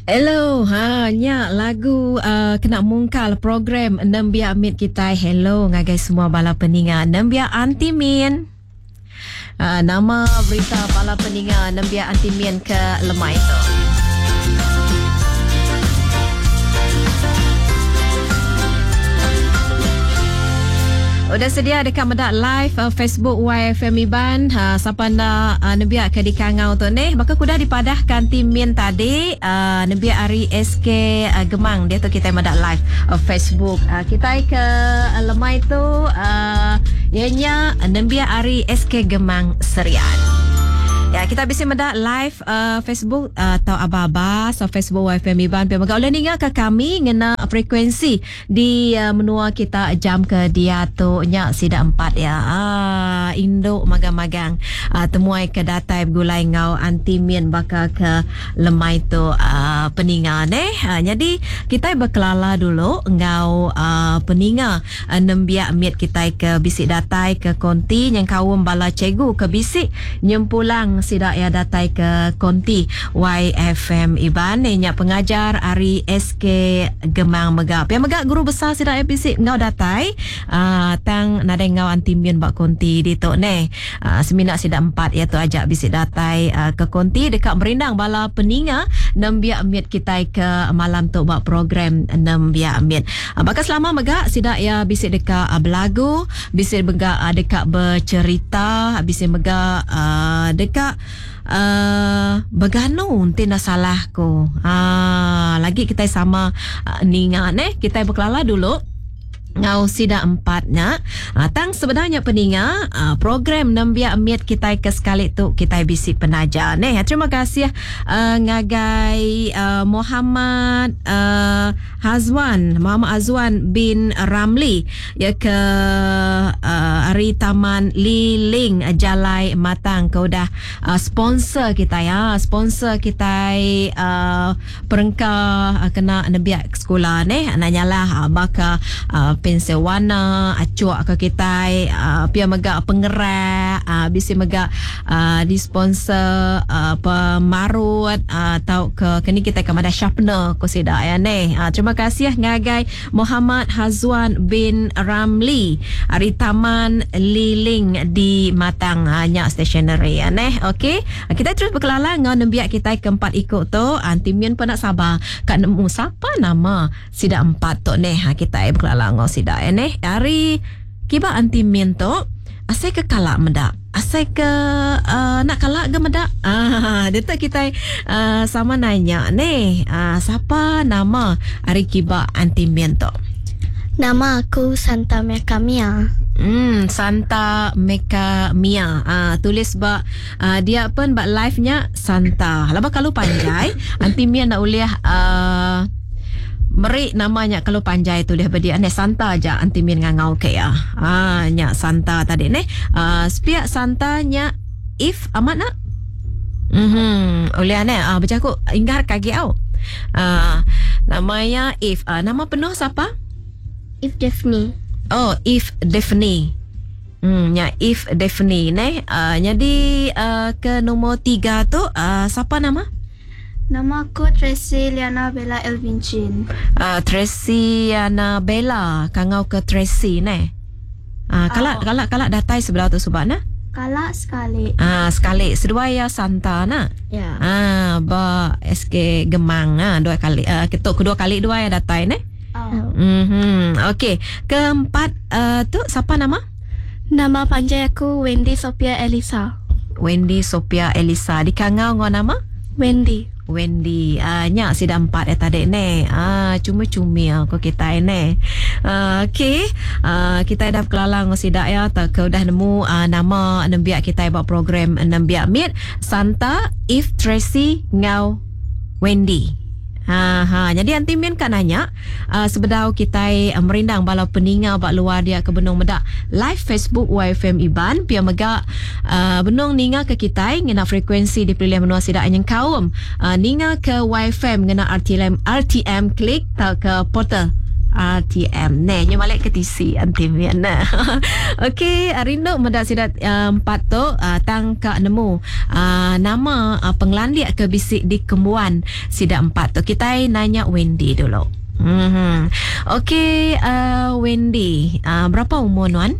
Hello, ha nya lagu uh, kena mungkal program Nembiak Mit kitai. Hello ngagai semua bala peninga Nembiak Aunty Min. Uh, nama berita bala peninga Nembiak Aunty Min ke lemai tu? Udah sedia deka meda live uh, Facebook YFM Iban. Uh, sapa enda uh, nembiak ke dikangau tu neh. Baka kuda dipadahkan tim Min tadi, uh, nembiak ari SK uh, Gemang dia tu kita meda live uh, Facebook. Uh, kita ke uh, lemai tu uh, ianya nembiak ari SK Gemang Serian. Ya, kita bisa meda live uh, Facebook uh, atau aba-aba so Facebook YFM Iban. Pia mega boleh ninga ke kami ngena frekuensi Di menua kita jam ke diatu nya sida empat iya aaa indu magang-magang aaa temuai ke datai begulai enggau aunty Min baka ke lemai tu aaa peninga neh. Nyadi kitai bekelala dulu enggau aaa peninga nembiak mit kitai ke bisi datai ke konti nyengkaum bala cikgu ke bisi nyempulang sida iya datai ke konti YFM Iban nya pengajar ari SK Gemang mega. Pia mega guru besar sida iya bisi enggau datai uh, tang nadai enggau anti min ba konti ditu neh. Uh, semina sida empat iya tu aja bisi datai uh, ke konti deka merindang bala peninga nembiak mit kitai ke malam tu ba program nembiak mit. Uh, baka selama mega sida iya bisi deka uh, belagu, bisi mega uh, deka bercerita, bisi mega uh, deka Uh, beganu enti enda salah ku. Uh, lagi kitai sama uh, ninga neh, kitai bekelala dulu ngau sida empat nya. Uh, tang sebenarnya peninga uh, program nembiak mit kitai ke sekali tu kitai bisi penaja neh. Terima kasih uh, ngagai uh, Muhammad uh, Hazwan, Muhammad Hazwan bin Ramli ya ke uh, ari Taman Liling Jalai Matang ke udah uh, sponsor kita ya, sponsor kita uh, perengka uh, kena nembiak sekula neh nak nyalah uh, baka uh, pensel warna acuk ke kita uh, pia mega pengerak uh, bisi mega uh, di sponsor uh, pemarut uh, tau ke kini kita ke madah sharpener ko sida ya neh. Uh, terima kasih ngagai Muhammad Hazwan bin Ramli ari Taman Liling di Matang uh, nya stationery ya neh. Okey. Uh, kita terus berkelala enggau nembiak kita keempat iku tu. Aunty Min pun nak sabar ka nemu sapa nama sida empat tu neh. Ha, kita berkelala enggau sida ya neh. Ari kiba Aunty Min tu asai ke kala meda. Asai ke uh, nak kala ke meda. Ah, dia tu kita uh, sama nanya ni. Uh, siapa nama ari kiba Aunty Min tu? Nama aku Santa Meka Mia. Santa Meka Mia. Ah, tulis ba uh, dia pun ba live nya Santa. Laba kalau panjai, Aunty Mia nak ulih uh, meri nama nya kalau panjai tulis ba dia neh Santa aja Aunty Min ngangau ke iya. Ah nya Santa tadi neh. Ah sepiak Santa nya if amat nak? Mhm ulih neh ah bejaku inggar ke agi au. Ah nama iya if. Ah nama penuh sapa? If Daphne. Oh if Daphne. Hmm nya if Daphne neh. Ah nyadi ah ke nombor 3 tu ah sapa nama? Nama aku Tracy Liana Bella Elvin Chin. Uh, Tracy Liana Bella, kangau ke Tracy neh. Uh, kala oh. kala kala datai sebelah tu subak nah? Kala sekali. Ah uh, sekali seduai ya Santa nah. Ya. Ah uh, ba SK Gemang ah uh, dua kali uh, ketuk kedua kali dua ya datai neh. Oh. Mhm. Okey, keempat uh, tu siapa nama? Nama panjai aku Wendy Sophia Elisa. Wendy Sophia Elisa. Dikangau ngau nama? Wendy. Wendy. Uh, nya sida empat eh tadi ne. Ah uh, cuma-cumi ko kita ne. Uh, okey. Uh, kita dah berkelala ngau sida ya tak ke udah nemu uh, nama nembiak kita ba program nembiak mit Santa, If Tracy ngau Wendy. Ha ha jadi anti min ka nanya uh, sebedau kitai uh, merindang bala peninga ba luar dia ke benung meda live Facebook YFM Iban pia mega uh, benung ninga ke kitai ngena frekuensi di pelilih menua sida nyengkaum uh, ninga ke YFM ngena RTM RTM klik tauka portal. RTM neh nyu balik ke tisi anti min neh. Okey rindu meda sida empat tu tang ka nemu nama pengelandik ke bisi dikembuan sida empat tu. Kitai nanya Wendy dulu. Mhm. Okey Wendy berapa umur nuan?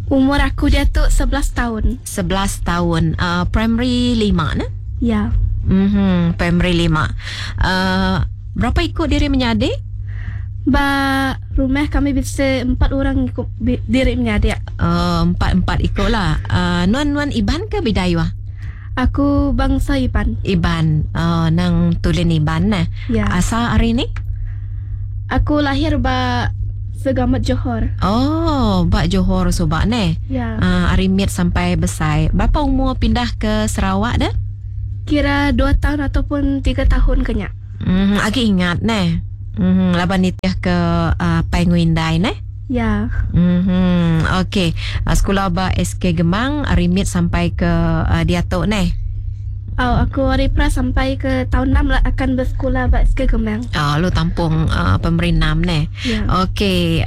Umur aku diatu 11 taun. 11 taun. Primary lima neh? Ya. Mhm primary lima. Berapa iku diri menyadi? Ba rumah kami bisi empat orang iku diri menyadi. Empat-empat iku lah. Nuan nuan Iban ke Bidayuh? Aku bangsa Iban. Iban. Nang tulin Iban neh. Ya. Asal ari ni? Aku lahir ba Segamat Johor. Oh, ba Johor suba neh. Ya. Ari mit sampai besai. Berapa umur pindah ke Sarawak deh? Kira dua taun ataupun tiga tahun ke nya. Uhh agi ingat neh. Uhh laban nitih ke apai enggau indai neh. Ya. Uhh okey. Sekula ba SK Gemang ari mit sampai ke diatu neh. Au aku ari pra sampai ke taun enam la akan besekula ba SK Gemang. Au lalu tampung primary enam neh. Ya. Okey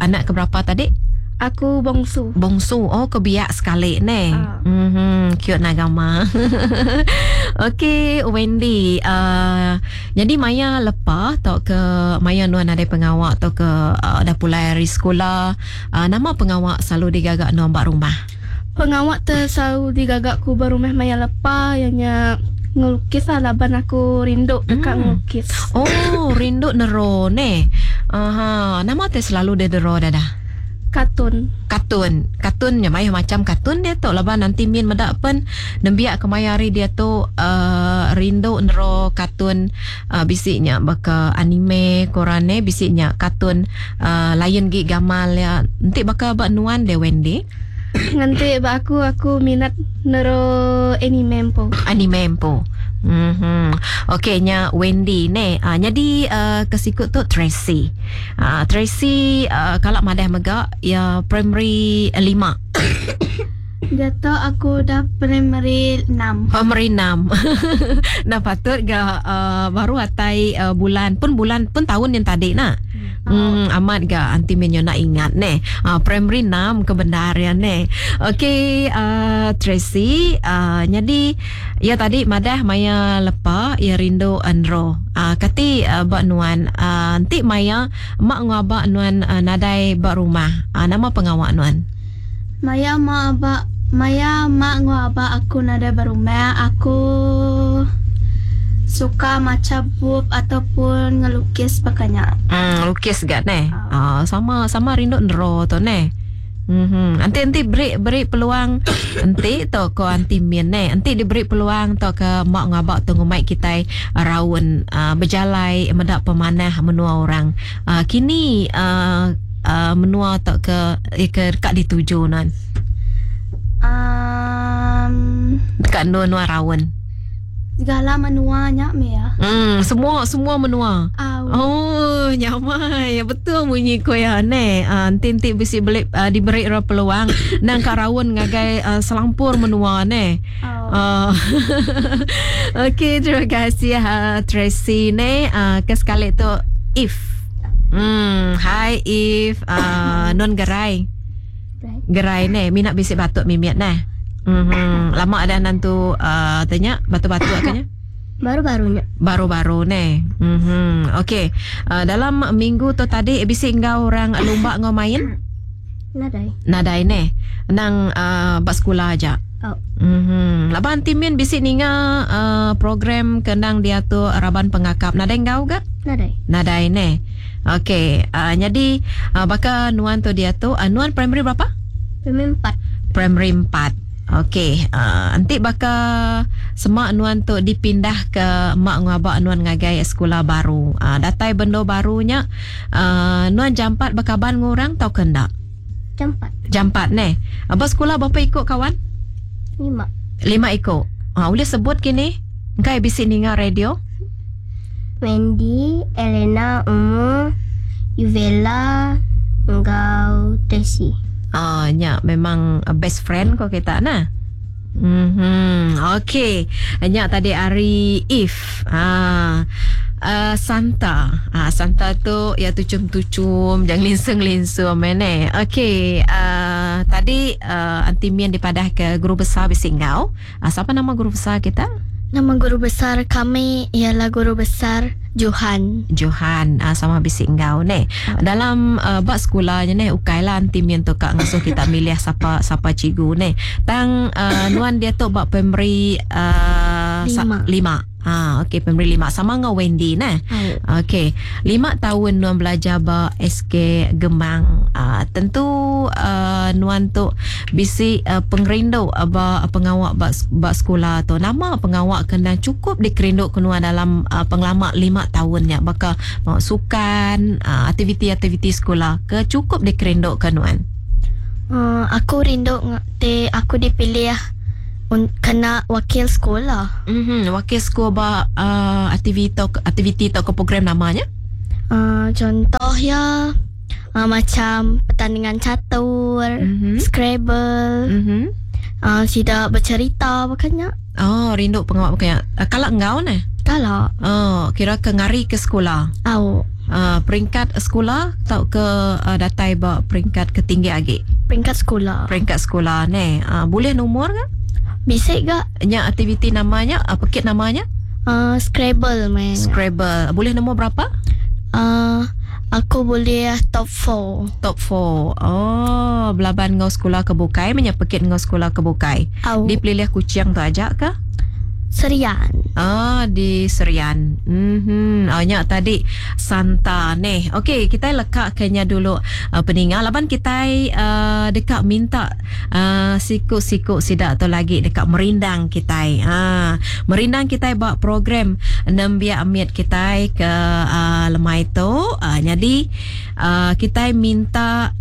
anak ke berapa tadi? Aku bongsu. Bongsu. Oh ke biak sekali neh. Uhh cute nah gama. Okey Wendy uhh nyadi maya lepa tauka maya nuan nadai pengawa tauka uhh dah pulai ari sekula uhh nama pengawa selalu digaga nuan ba rumah? Pengawa te selalu digaga ku ba rumah maya lepa iya nya ngelukis lah laban aku rindu deka ngelukis. Oh rindu nero neh. Aha nama te selalu deh dero dadah? Katun. Katun. Katun nya mayuh macam katun diatu laban anti min meda pen nembiak kemaya hari diatu uhh rindu nero katun uhh bisi nya baka anime ko orang neh bisi nya katun uhh lain gi gamal iya. Enti baka ba nuan deh Wendy? Ngenti ba aku, aku minat nero anime empu. Anime empu. Mhm. Okey nya Wendy neh. Uhh nyadi uhh ke siku tu Tracy. Tracy kala madah mega iya primary lima. Diatu aku udah primary enam. Primary enam. Enda patut ga baru atai bulan pun bulan pun taun yang tadi nah. Hmm, amat ga anti min nak ingat neh. Primary enam ke bendar iya neh. Okey Tracy nyadi Iya tadi madah maya lepa iya rindu enro. Kati ba nuan enti maya mak enggau aba nuan nadai ba rumah nama pengawa nuan? Maya mak aba maya mak enggau aba aku nadai ba rumah aku suka macha bup ataupun ngelukis baka nya. Ngelukis ga neh. Sama sama rindu enro tu neh. Mhm. Enti enti beri beri peluang enti tu ko anti min neh. Enti diberi peluang tauka mak ngaba tu ngumbai kitai raun uhh bejalai meda pemanah menua orang. Uhh kini uhh uhh menua tauka ke deka dituju nuan. Uhh. Deka endur nuan raun. Segala menua nya meh ya. Hmm, semua semua menua. Au. Oh, nyamai. Betul munyi ku iya neh. Uh, enti enti bisi beli uh, diberi ra peluang nang ka raun ngagai uh, selampur menua neh. Au. Uh, Okey, terima kasih uh, Tracy neh. Uh, ke sekali tu If. Hmm, hi If. Uh, nun gerai. Gerai neh mina bisi batuk mimit neh. Mhm lama dah nantu uhh te nya batuk-batuk ke nya? Baru-baru nya. Baru-baru neh. Mhm okey dalam minggu tu tadi bisi enggau orang lumba enggau main? Nadai. Nadai neh. Endang uhh ba sekula aja. Au. Mhm laban ti min bisi ninga uhh program ke endang diatur raban pengakap nadai enggau ga? Nadai. Nadai neh. Okey, uh, nyadi uh, baka nuan tu diatu, uh, nuan primary berapa? Primary empat. Primary empat. Okey, uh, enti baka sema nuan tu dipindah ke mak enggau aba nuan ngagai sekula baru. Uh, datai bendo baru nya, uh, nuan jampat bekaban enggau orang tauka enda? Jampat. Jampat neh. Ba sekula berapa iku kawan? Lima. Lima iku. Uh, ulih sebut kini? Engkai bisi ninga radio? Wendy, Elena, Umu, Yuvela enggau Tracy. Ah nya memang best friend ko kita nah. Mhm. Okey. Nya tadi ari Eve. Ha. Uh, Santa. Ha, Santa tu ya tuchum-tuchum, jangan linsung-linsung mene. Okey, uh, tadi uh, Aunty Min dipadah ke guru besar bisi enggau. Uh, siapa nama guru besar kita? Nama guru besar kami ialah guru besar Johan. Johan uh, sama bisi enggau ne. Dalam uh, bak sekolah nya ne ukai lah Aunty Min tu kak ngasuh kita milih siapa siapa cikgu ne. Tang uh, nuan dia tu bak primary uh, 5. 5. Ha, okey primary 5 sama dengan Wendy ne. Oh. Okey, 5 tahun nuan belajar ba SK Gemang. Tentu nuan tu bisi pengerindu ba pengawak ba sekolah tu. Nama pengawak kena cukup dikerindu ke nuan dalam pengelama 5 tahunnya baka mau sukan, aktiviti-aktiviti sekolah ke cukup dikerindu ke nuan? Aku rindu te aku dipilih kena wakil sekolah. Wakil sekolah ba aktiviti atau ke program namanya? Contoh ya, macam pertandingan catur, Scrabble, sidak bercerita bukannya. Oh, rindu pengawak bukannya. Kalau engkau ne? Kalau. Oh, kira ke ngari ke sekolah. Au. Peringkat sekolah atau ke datai ba peringkat ketinggi lagi? Peringkat sekolah. Peringkat sekolah ne. Boleh nomor ke? Bisa gak? Nya aktiviti namanya, apa kit namanya? Scrabble man. Scrabble. Boleh nombor berapa? Aku boleh top 4. Top 4. Oh, belaban ngau sekolah ke bukai, menyepekit ngau sekolah ke bukai. Au. Di pelilih kucing tu ajak ke? Serian. Ah, di Serian. Oh, nya tadi Santa ni. Okey, kita lekak kenya dulu peningal. Laban kita dekat minta siku-siku sidak tu lagi dekat merindang kita. Merindang kita buat program nembiak amit kita ke lemai tu. Jadi kita minta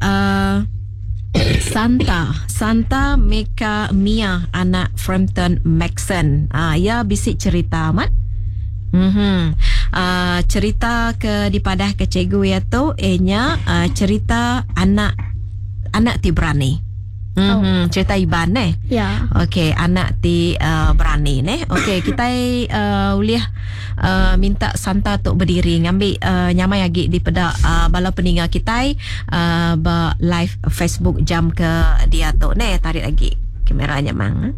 Santa Meka Mia anak Frampton Maxon. Ya bisik cerita amat. Cerita ke dipadah ke cikgu ya tu enya cerita anak ti berani. Cerita Iban ne. Ya. Okey, anak ti berani ne. Okey, kita boleh minta Santa tok berdiri ngambil nyamai lagi di pedak bala peninga kita ba live Facebook jam ke dia tok ne, tarik lagi kameranya mang.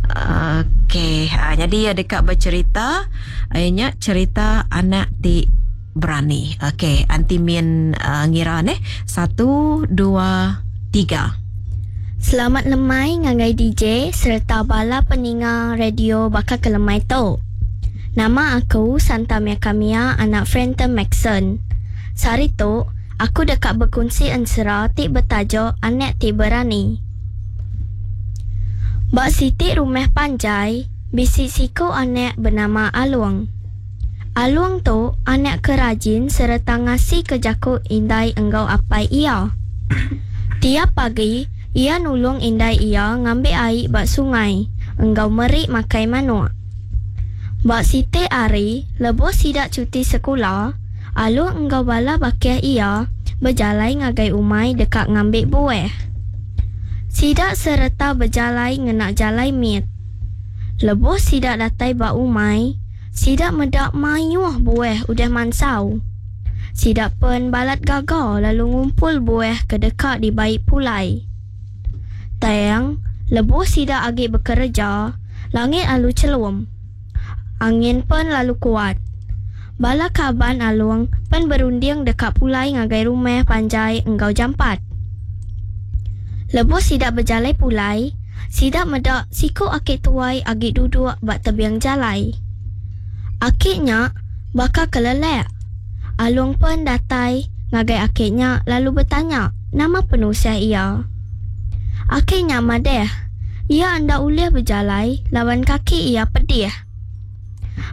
Okey, jadi dekat bercerita nya cerita anak ti berani. Okey, anti min ngira ne. 1 2 3. Selamat lemai ngagai DJ serta bala peninga radio bakal ke lemai tu. Nama aku Santa Mia Kamia anak Frampton Maxon. Sehari tu aku dekat berkongsi ensera ti bertajuk Anak Ti Berani. Bak siti rumah panjai, bisi siku anak bernama Aluang. Aluang tu anak kerajin serta ngasi ke jaku indai enggau apai ia. Tiap pagi, ia nulung indai ia ngambil air bak sungai, enggau merik makai manuk. Bak siti ari, lebuh sidak cuti sekolah, Aluang enggau bala bakih ia berjalai ngagai umai dekat ngambil buah. Sidak serta berjalai ngenak jalai mit. Lebuh sidak datai bak umai, sidak medak mayuh buah udah mansau. Sidak pen balat gagal lalu ngumpul buah ke dekat di baik pulai. Tayang, lebuh sidak agi bekerja, langit alu celum. Angin pen lalu kuat. Bala kaban Aluang pen berunding dekat pulai ngagai rumah panjai enggau jampat. Lebuh sidak berjalai pulai, sidak medak siku akik tuai agi duduk bak tebiang jalai. Akiknya bakal kelelek. Aluang pun datai ngagai akiknya lalu bertanya nama penusia ia. Akiknya madeh, ia anda ulih berjalai lawan kaki ia pedih.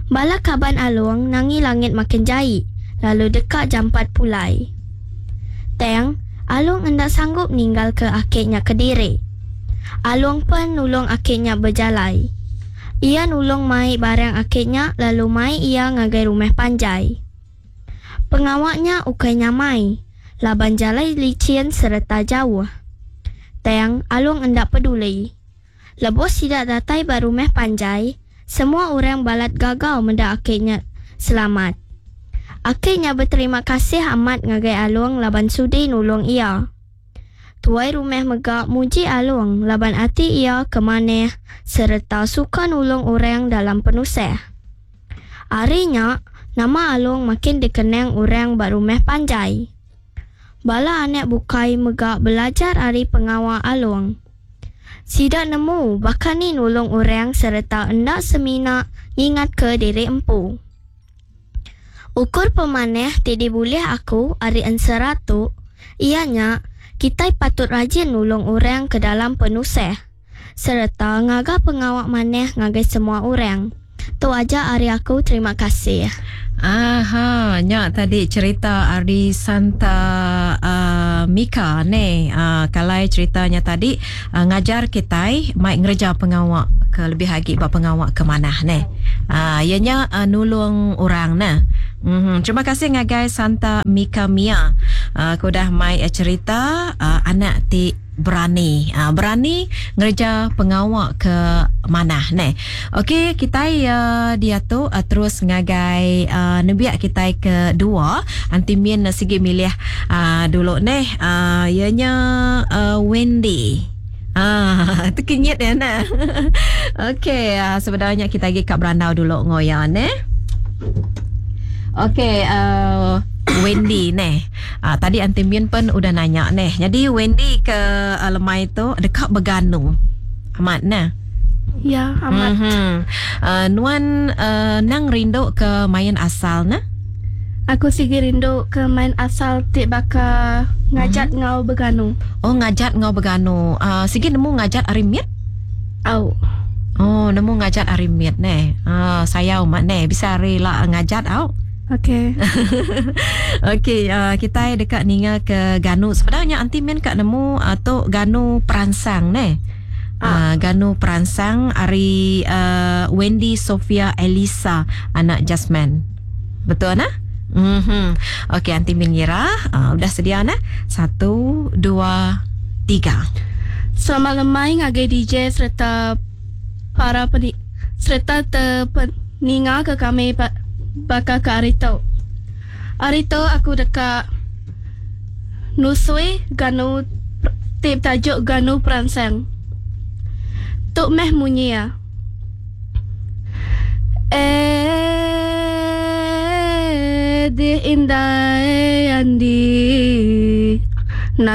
Bala kaban Aluang nangi langit makin jai lalu dekat jampat pulai. Teng, Aluang hendak sanggup ninggal ke akiknya kediri. Aluang pun nulung akiknya berjalai. Ia nulung mai barang akiknya lalu mai ia ngagai rumah panjai. Pengawaknya ukai nyamai, laban jalai licin serta jauh. Teng, Aluang hendak peduli. Lebuh sida datai ba rumah panjai, semua orang balat gagau meda aki nya selamat. Aki nya beterima kasih amat ngagai Along laban sudi nulung iya. Tuai rumah mega muji Along laban ati iya ke manah sereta suka nulung orang dalam penusah. Ari nya, nama Along makin dikenang orang ba rumah panjai. Bala anak bukai mega belajar ari pengawa Along. Sida nemu baka ni nulung orang sereta enda semina ngingatka diri empu. Ukur pemanah ti dibulih aku ari ensera tu iya nya kitai patut rajin nulung orang ke dalam penusah sereta ngaga pengawa manah ngagai semua orang. Tu aja ari aku terima kasih. Aha, nya tadi cerita ari Santa uh, Mika ne. Uh, kalai cerita nya tadi uh, ngajar kitai mai ngereja pengawa ke lebih agi ba pengawa ke manah ne. Uh, iya nya uh, nulung orang ne. Mm-hmm. Terima kasih ngagai Santa Mika Mia uh, ke udah mai cerita uh, anak ti berani. Uh, berani ngereja pengawa ke manah ne. Okey, kitai uh, diatu uh, terus ngagai uh, nembiak kitai ke dua. Anti Min sigi milih uh, dulu neh. Uh, iya nya uh, Wendy. Ah, tekenyit ya nah. Okey, uh, sebenarnya kita lagi kat berandau dulu ngoya neh. Okey, uh, Wendy neh. Uh, tadi Aunty Min pun udah nanya neh. Jadi Wendy ke uh, lemai tu dekat beganu. Amat neh. Ya, amat. Mm-hmm. Nuan nang rindu ke main asal ne? Aku sigi rindu ke main asal ti baka ngajat mm-hmm. ngau beganu. Oh, ngajat ngau beganu. Sigi nemu ngajat ari mit? Au. Oh, nemu ngajat ari mit ne. Sayau mak ne bisa ari la ngajat au. Okey. Okey, kitai deka ninga ke ganu. Sebenarnya anti min ka nemu tu ganu peransang ne. Uh, ganu peransang ari uh, Wendy Sofia Elisa anak Jasmine. Betul nah? Mhm. Okey, anti min ngira. Uh, udah sedia nah? Satu, dua, tiga. Selamat lemai ngagai DJ sereta para peni sereta te peninga ke kami baka ke ari tu. Ari tu aku deka nusui ganu ti betajuk Ganu Peransang. Tu meh munyi iya. Eh dih indai andi.